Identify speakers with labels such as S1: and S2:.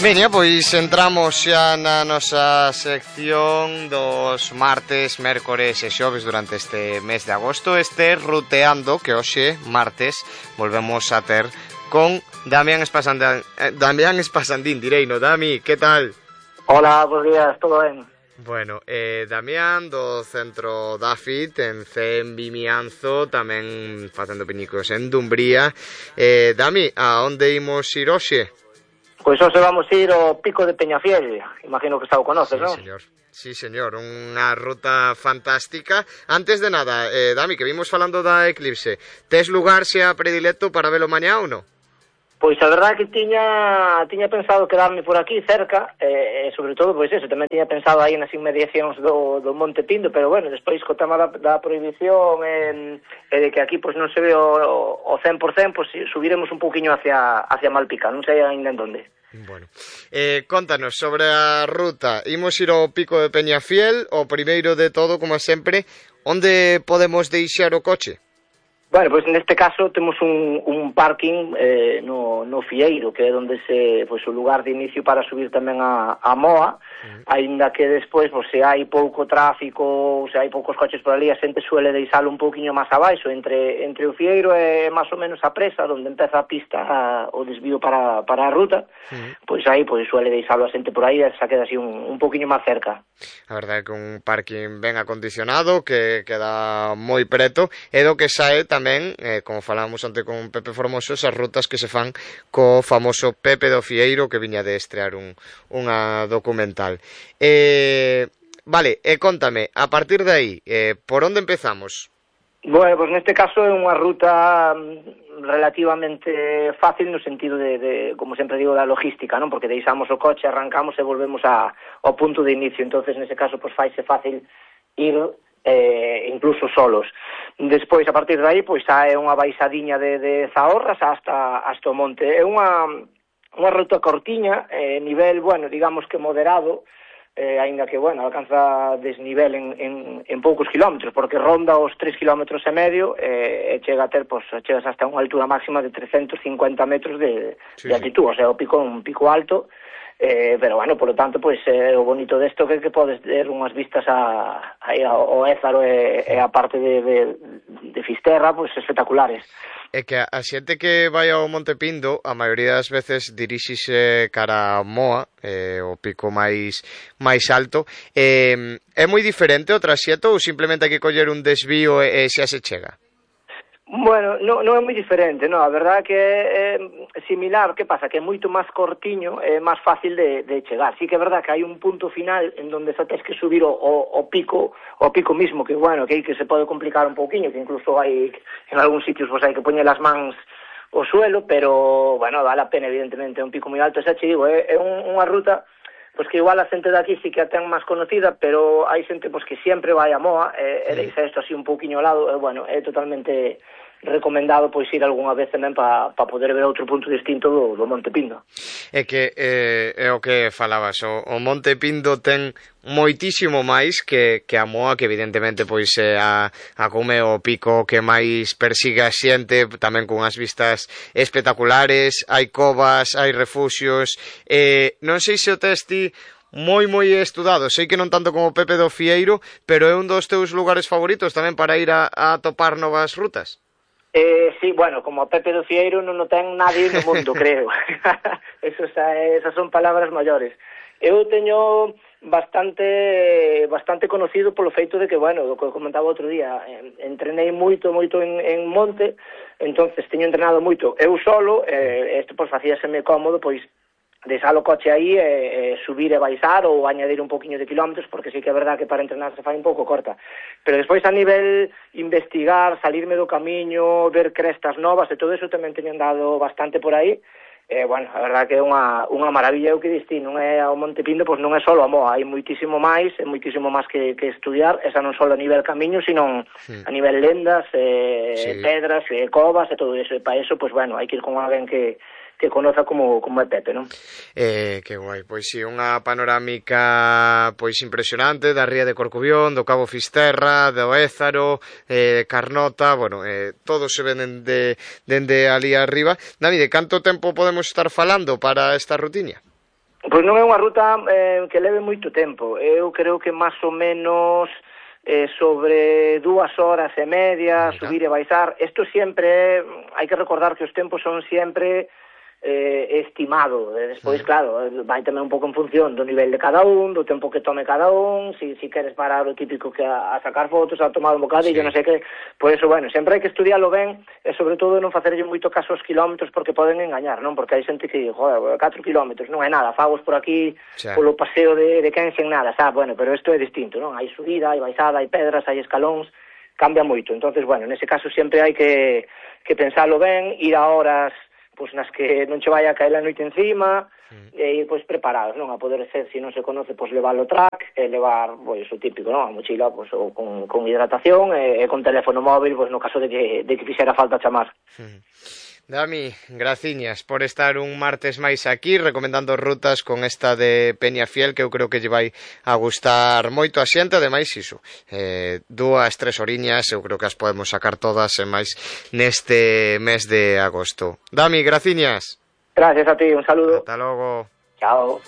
S1: Veña, pois entramos xa na nosa sección dos martes, mércores e xoves durante este mes de agosto. Este ruteando que hoxe, martes, volvemos a ter con Damián Espasandín, direino. Dami, que tal?
S2: Hola, bos días, todo ben?
S1: Bueno, Damián do Centro Dafit en Cen Vimianzo, tamén facendo piñicos en Dumbría. Dami, a onde imos ir hoxe?
S2: Pois hoxe vamos ir ao Pico de Peñafiel, imagino que xa o conoces, non?
S1: Sí, señor, unha ruta fantástica. Antes de nada, Dami, que vimos falando da eclipse, tes lugar xa predilecto para velo mañá ou non?
S2: Pois a verdade que tiña pensado quedarme por aquí cerca, e sobre todo, pois eso, tamén tiña pensado aí nas inmediacións do Monte Pindo, pero bueno, despois co tema da prohibición e de que aquí pois non se ve o 100%, pois subiremos un pouquiño hacia Malpica, non sei ainda en donde.
S1: Bueno, contanos sobre a ruta. Imos ir ao Pico de Peñafiel, o primeiro de todo, como sempre, onde podemos deixar o coche?
S2: Bueno, pois neste caso temos un parking no Fieiro, que é onde pois o lugar de inicio para subir tamén a Moa, aínda que despois, pois, se hai pouco tráfico, se hai poucos coches por ali, a xente suele deixalo un pouquiño máis abaixo, entre o Fieiro e máis ou menos a presa, onde empeza a pista, o desvío para a ruta, pois aí pois suele deixalo a xente por aí, e xa queda así un pouquiño máis cerca.
S1: A verdade é que un parking ben acondicionado, que queda moi preto, e do que sae tamén, como falábamos onte con Pepe Formoso, esas rutas que se fan co famoso Pepe do Fieiro, que viña de estrear unha documental. Vale, contame, a partir de aí, por onde empezamos?
S2: Bueno, pois neste caso é unha ruta relativamente fácil no sentido de como sempre digo, da logística, non? Porque deixamos o coche, arrancamos e volvemos ao punto de inicio. Entonces, nese caso, pois faise fácil ir incluso solos. Despois, a partir de aí, pois xa é unha baixadiña de Zahorras hasta o monte. É unha ruta cortiña, nivel, bueno, digamos que moderado, aínda que, bueno, alcanza desnivel en poucos kilómetros, porque ronda os 3,5 kilómetros e chega a ter, pois, chegas hasta unha altura máxima de 350 metros de altitud, o sea, o pico é un pico alto, pero, bueno, por lo tanto, pois, o bonito desto que podes ter unhas vistas ao Ézaro e a parte de Fisterra, pois, espectaculares.
S1: É que a xente que vai ao Monte Pindo, a maioría das veces dirixise cara a Moa, o pico máis alto. É moi diferente o traxeto ou simplemente hai que coller un desvío e xa se chega?
S2: Bueno, non é moi diferente, non, a verdade que é similar, que pasa? Que é moito máis cortiño, é máis fácil de chegar. Sí que é verdade que hai un punto final en donde xa tens que subir o pico mismo, que bueno, que aí que se pode complicar un pouquiño, que incluso hai en algún sitios hai que poñer as mans ao suelo, pero, bueno, vale a pena, evidentemente, é un pico moi alto, xa che digo, é unha ruta pois que igual a xente daqui sí que a ten máis conocida, pero hai xente pois que sempre vai a Moa e deixa isto así un pouquiño ao lado, e bueno, é totalmente recomendado pois ir algunha vez tamén para poder ver outro punto distinto do Monte Pindo.
S1: É que é o que falabas, o Monte Pindo ten moitísimo máis que a Moa, que evidentemente pois é a cume o pico que máis persigue a xente, tamén con as vistas espectaculares, hai covas, hai refuxios, non sei se o testi moi estudado, sei que non tanto como Pepe do Fieiro, pero é un dos teus lugares favoritos tamén para ir a topar novas rutas.
S2: Sí, bueno, como Pepe do Fieiro non o ten nadie no mundo, creo. Esas son palabras maiores. Eu teño bastante conocido polo feito de que, bueno, do que comentaba outro día, entrenei moito en monte, entonces teño entrenado moito eu solo, isto pois facíaseme cómodo, pois deixar o coche aí e subir e baixar ou añadir un poquinho de kilómetros, porque sí que é verdad que para entrenar se fai un pouco corta. Pero despois a nivel investigar, salirme do camiño, ver crestas novas e todo eso tamén teño andado bastante por aí. Bueno, a verdad que é unha maravilla, o que diste, non é ao Monte Pindo, pois non é só a Moa, hai moitísimo máis que estudiar, esa non só a nivel camiño, sino a nivel lendas, pedras, covas e todo eso, e para eso, pois bueno, hai que ir con alguén que conoza como é Pepe, non?
S1: Que guai, pois si, unha panorámica pois impresionante da ría de Corcubión, do Cabo Fisterra, do Ézaro, Carnota, bueno, todos se ven dende ali arriba. David, de canto tempo podemos estar falando para esta rutiña?
S2: Pois non é unha ruta que leve moito tempo. Eu creo que máis ou menos sobre 2 horas e media, subir e baixar. Isto sempre, hai que recordar que os tempos son sempre estimado. Despois, claro, vai tamén un pouco en función do nivel de cada un, do tempo que tome cada un, si queres parar o típico que a sacar fotos, a tomar un bocadillo, non sei que. Por eso, bueno, sempre hai que estudiarlo ben e sobre todo non facerlle moito caso aos kilómetros porque poden engañar, non? Porque hai xente que, joder, 4 kilómetros non é nada, fagos por aquí polo paseo de quen sen nada, bueno, pero isto é distinto, non? Hai subida, hai baixada, hai pedras, hai escalóns, cambia moito. Entonces, bueno, nese caso sempre hai que pensalo ben, ir a horas pois nas que non che vai a caer a noite encima e ir pois preparados, non? A poder ser, se non se conoce, pois levar o track e levar, pois o típico, non? A mochila, pois con hidratación e con teléfono móvil, pois no caso de que fixera falta chamar.
S1: Dami, graciñas por estar un martes máis aquí recomendando rutas con esta de Peñafiel, que eu creo que lle vai a gustar moito a xente. Ademais, iso, 2-3 horiñas eu creo que as podemos sacar todas e máis neste mes de agosto. Dami, graciñas.
S2: Gracias a ti, un saludo.
S1: Ata logo.
S2: Chao.